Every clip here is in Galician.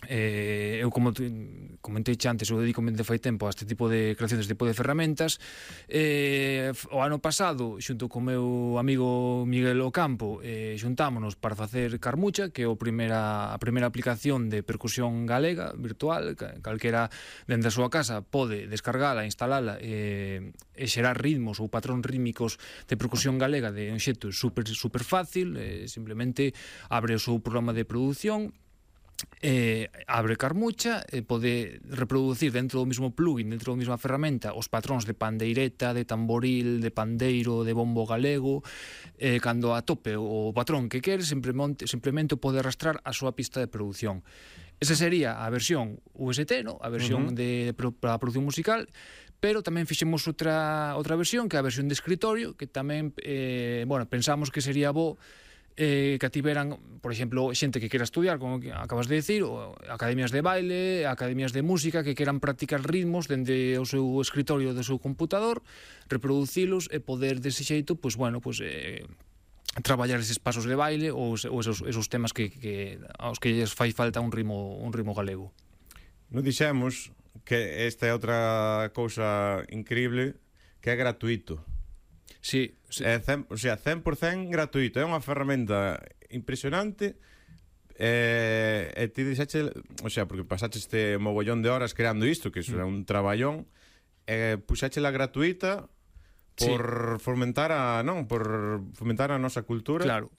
eu como comentei antes, eu dedico de fai tempo a este tipo de creación, este tipo de ferramentas. O ano pasado, xunto co meu amigo Miguel Ocampo, xuntámonos para facer Carmucha, que é a primeira aplicación de percusión galega virtual. Calquera dende a súa casa pode descargala, instalala e xerar ritmos ou patrón rítmicos de percusión galega de un xeito super fácil. Simplemente abre o seu programa de produción, abre Carmucha, pode reproducir dentro do mesmo plugin, dentro da mesma ferramenta, os patróns de pandeireta, de tamboril, de pandeiro, de bombo galego. Cando atope o patrón que quere, simplemente pode arrastrar a súa pista de produción. Esa sería a versión UST, ¿no? A versión para a produción musical. Pero tamén fixemos outra versión, que é a versión de escritorio, que tamén pensamos que sería bo que tiveran, por exemplo, xente que quera estudiar, como acabas de decir, ou academias de baile, academias de música, que queran practicar ritmos dende o seu escritorio do seu computador, reproducilos e poder dese xeito, traballar eses pasos de baile ou esos temas aos que lles fai falta un ritmo galego. Non dixemos que esta é outra cousa increíble, que é gratuito. Sí, é 100% gratuito, é unha ferramenta impresionante. E ti dixeche, porque pasaste este mogollón de horas creando isto, que iso é un traballón, puxéchela gratuita por fomentar a nosa cultura. Claro.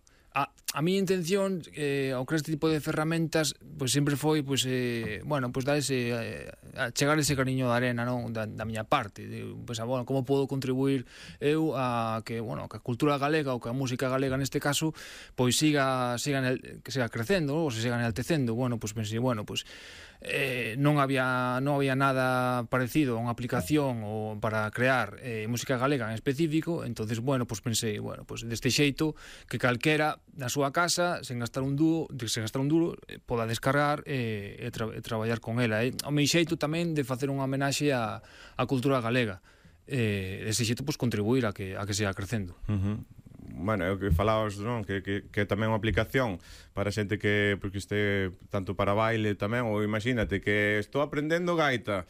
A miña intención ao crear este tipo de ferramentas sempre foi dar a chegar ese cariño da arena, non, da miña parte, como podo contribuir eu a que a cultura galega ou que a música galega neste caso siga crecendo ou se siga enaltecendo. Pensei, non había nada parecido a unha aplicación ou para crear música galega en específico. Entonces pensei, deste xeito que calquera na súa casa, sen gastar un duro, poda descargar e traballar con ela. O meu xeito tamén de facer unha homenaxe á cultura galega, dese xeito contribuir a que siga crecendo. Bueno, é o que falabas, non? Que tamén é unha aplicación para xente que este tanto para baile tamén, ou imagínate que estou aprendendo gaita,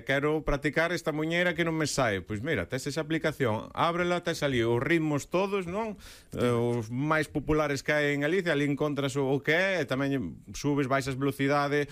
quero practicar esta muñeira que non me sae, pois mira, tes esa aplicación, ábrela, tes ali os ritmos todos, non? Os máis populares que hai en Galicia, ali encontras o que é, e tamén subes, baixas velocidade,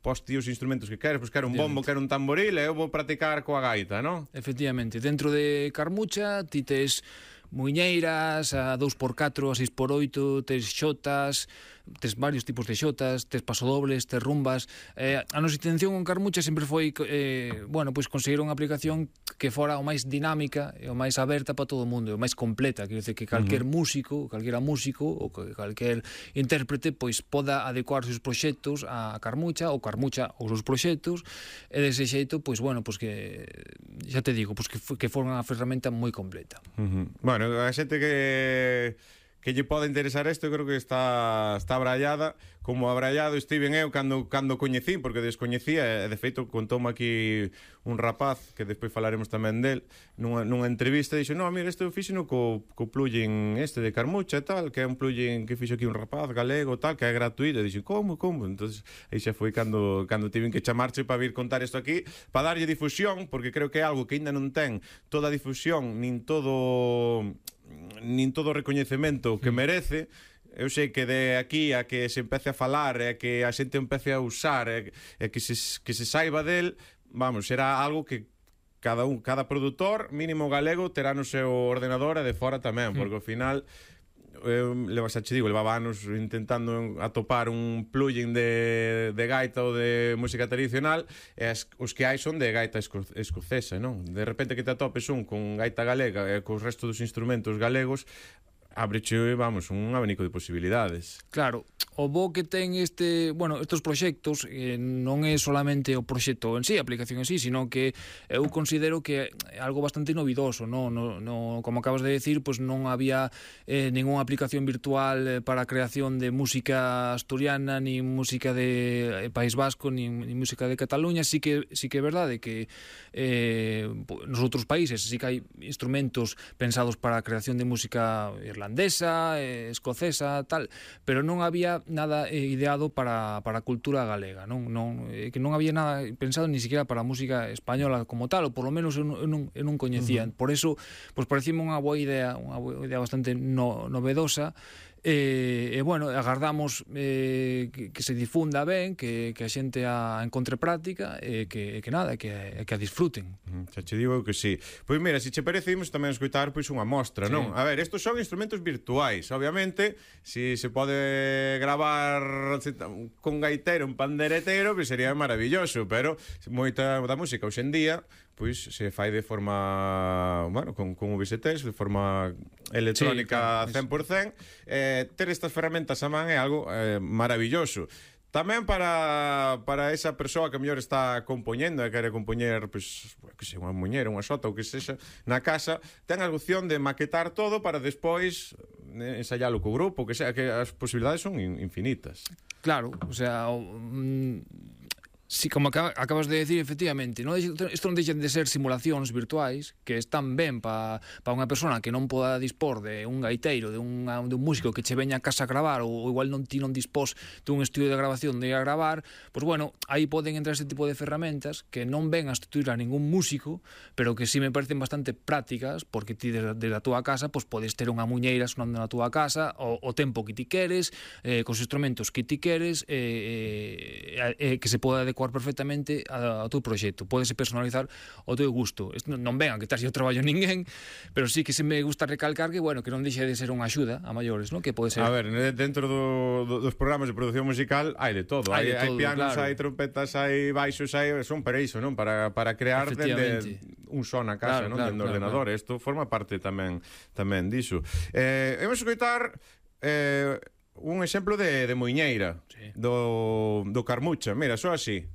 posti os instrumentos que queres, pois quero un bombo, quero un tamboril, e eu vou practicar coa gaita, non? Efectivamente, dentro de Carmucha ti tes muiñeiras a 2x4, a 6x8, tes xotas, tes varios tipos de xotas, tes pasodobles, tes rumbas. A nosa intención con Carmucha sempre foi conseguir unha aplicación que fora o máis dinámica e o máis aberta para todo o mundo, o máis completa. Quero dizer que calquera músico ou calquer intérprete poda adecuar os seus proxectos a Carmucha, ou Carmucha os seus proxectos, e dese xeito, que xa te digo, que for unha ferramenta moi completa. Bueno, a xente que lle pode interesar isto, creo que está abrallada, como abrallado estiven eu cando coñecín, porque descoñecía, e de feito contoume aquí un rapaz, que despois falaremos tamén del, nunha entrevista, dixo, no, mira, isto fixeno co plugin este de Carmucha e tal, que é un plugin que fixo aquí un rapaz galego, tal, que é gratuito. E dixo, como? Entonces aí xa foi cando tiven que chamarche para vir contar isto aquí, para darlle difusión, porque creo que é algo que ainda non ten toda a difusión, nin todo o recoñecemento que merece. Eu sei que de aquí a que se empece a falar e que a xente empece a usar e que se saiba del, será algo que cada produtor mínimo galego terá no seu ordenador e de fora tamén, porque ao final levaba anos intentando atopar un plugin de gaita ou de música tradicional, e os que hai son de gaita escocesa, non? De repente que te atopes un con gaita galega e cos resto dos instrumentos galegos, abreche, un abanico de posibilidades. Claro, o bo que ten estes proxectos non é solamente o proxecto en sí, a aplicación en sí, sino que eu considero que é algo bastante novidoso, como acabas de decir, non había ninguna aplicación virtual para a creación de música asturiana, ni música de País Vasco, ni música de Cataluña. Sí que é verdade que nos outros países sí que hai instrumentos pensados para a creación de música irlandesa, irlandesa, escocesa, tal, pero non había nada ideado para a cultura galega, que non había nada pensado ni siquiera para a música española como tal, ou por lo menos eu non coñecía. Por eso, pois parecíme unha boa idea bastante novedosa. Bueno, agardamos que se difunda ben, que a xente a encontre práctica e que nada, que a disfruten. Xa che digo que sí. Pois mira, se che parece, imos tamén escoitar pois unha mostra, non? A ver, estos son instrumentos virtuais. Obviamente, se se pode gravar con gaitero, un panderetero, pois sería maravilloso, pero moita da música hoxe en día pois se fai de forma, bueno, con VSTs, de forma electrónica 100%. Ter estas ferramentas a man é algo maravilloso. Tamén para esa persoa que mellor está compoñendo e quere compoñer, pois, que sei, unha muñeira, unha xota ou que sexa na casa, ten a opción de maquetar todo para despois ensaialo co grupo, que sea, que as posibilidades son infinitas. Claro, o sea, si, como acabas de decir, efectivamente, isto non deixan de ser simulacións virtuais que están ben para unha persona que non poda dispor de un gaiteiro, de un músico que che veña a casa a gravar, ou igual non dispós dun estudio de grabación de ir a gravar, pois bueno, aí poden entrar este tipo de ferramentas que non ven a sustituir a ningún músico, pero que sí me parecen bastante prácticas, porque ti desde a túa casa pois podes ter unha muñeira sonando na túa casa o tempo que ti queres, cos instrumentos que ti queres, que se poda adecuar perfectamente ao teu proxecto. Pódese personalizar ao teu gusto. Non ven a quitarse o traballo a ninguén, pero sí que se me gusta recalcar que, bueno, que non deixe de ser unha axuda a maiores, ¿no? Que pode ser... A ver, dentro dos programas de produción musical hai de todo. Hai pianos, hai trompetas, hai baixos, son para iso, non? Para crear dende un son na casa, non? Dende o ordenador. Isto forma parte tamén diso. Vamos a escoitar un exemplo de muiñeira do Carmucha. Mira, só así.